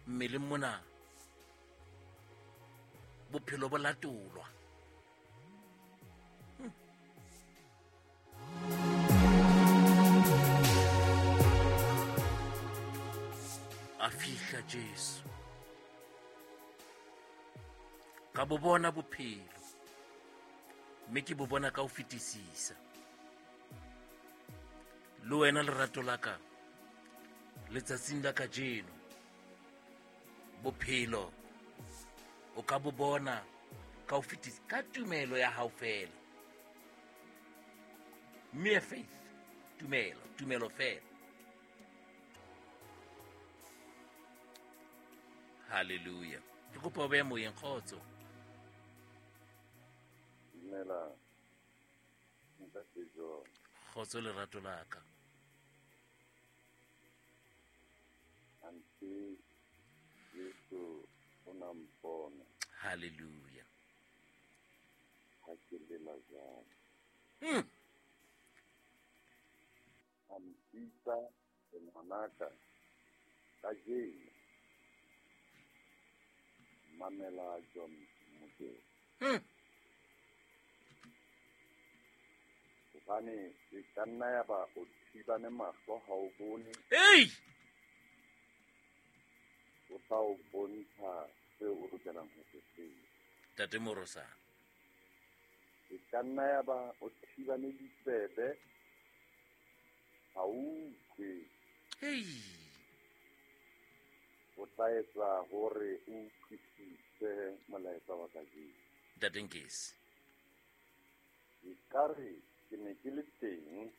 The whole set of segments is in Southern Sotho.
Mmeleng mona bophelo bo latolwa. A fihla Jesu. Ka bo bona bophelo, mme ke bo bona ka ho fetisisa. Le wena lerato la ka, letsatsing la kajeno, bophelo o ka bo bona ka ho fetisisa ka tumelo ya hao fela. Mere faith, tumelo, tumelo fela. Hallelujah. Ke kopa o behe moyeng, kgotso. Dumela, ntate John. Kgotso lerato la ka. Ante Jesu o na mpona. Hallelujah. Ha ke lela jwalo. A mpitsa ngwanaka kajeno. Mamela John Mokete. Hobane e ka nna ya ba o thibane mahlo ha o bone. Hey! O tla o bontsha seo o lokelang ho se tseba. Ntate Morosana. E ka nna ya ba o thibane ditsebe ha o utlwe. Hey! O tla etsa hore o utlwisise molaetsa wa kajeno. Ntate Nkesi. Ekare ke ne ke le teng.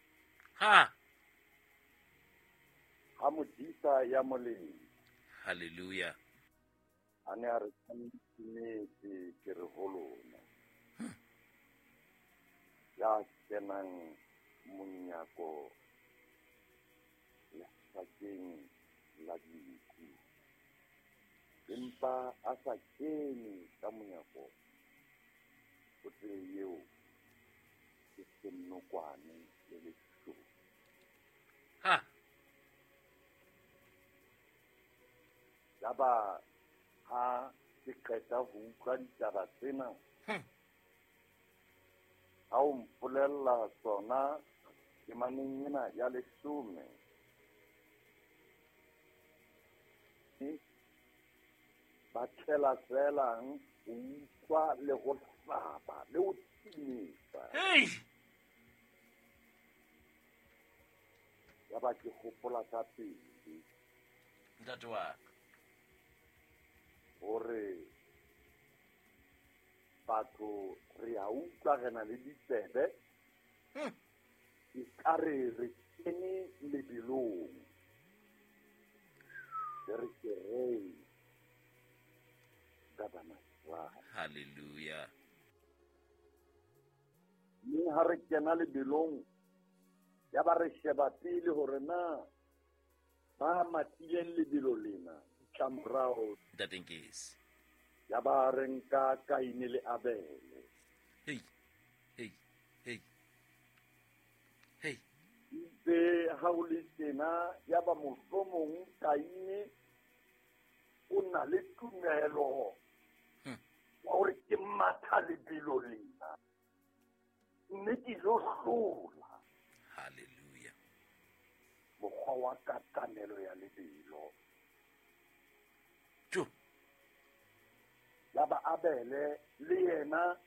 Ha! Ha modisa ya molemo. Hallelujah. A ne a re tshwanetse ke re ho lona. Ya kenang monyako lefatsheng la dinku. Empa a sa kene ka monyako o tsebe eo ke senokwane le leshodu. Ha! Yaba ha ke qeta ho utlwa ditaba tsena, ha o mpolella tsona temaneng ena ya 10, ba tlela felang ho utlwa le ho hlaba le ho timetsa. Hey! Yaba ke hopola ka pele. Ntate wa ka. Hore batho re a utlwa re na le ditsebe. Ekare re kene lebelong. Re ke re ka bana ba. Hallelujah. Mme ha re kena lebelong, ya ba re sheba pele hore na ba matileng lebelo lena ditlamorao. Ntate Nkesi. Ya ba re nka Kaine le Abele. Hey, hey, hey. Hey. Itse ha o le tjena, ya ba mohlomong Kaine o na le tumelo wa hore ke matha lebelo lena, mme ke lo hlola. Hallelujah. Mokgwa wa katamelo ya lebelo. Jo. Ya ba Abele le yena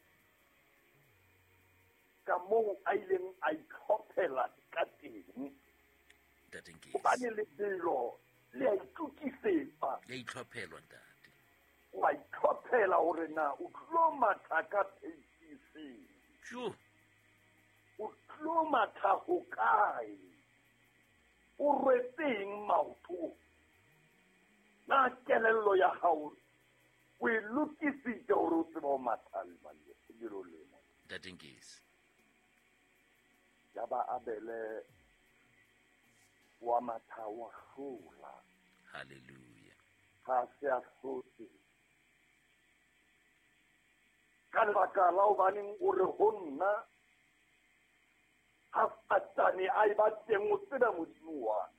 ka moo a ileng a itlhophela ka teng. Ntate Nkesi. Hobane lebelo le a itokisetsa. Le a itlhophelwa, ntate. Wa itlhophela hore na o tlo matha ka pace efe. Jo. O tlo matha hokae? O rwetseng maoto? Na kelello ya hao o e lokisitse hore o tsebe ho matha lebelo lena? Ntate Nkesi. Ya ba Abele wa matha wa hlola. Hallelujah. Ha se a hlotse. Ka lebaka la hobaneng o re ho nna, ha Satane a eba teng o tsebe Modimo wa ka.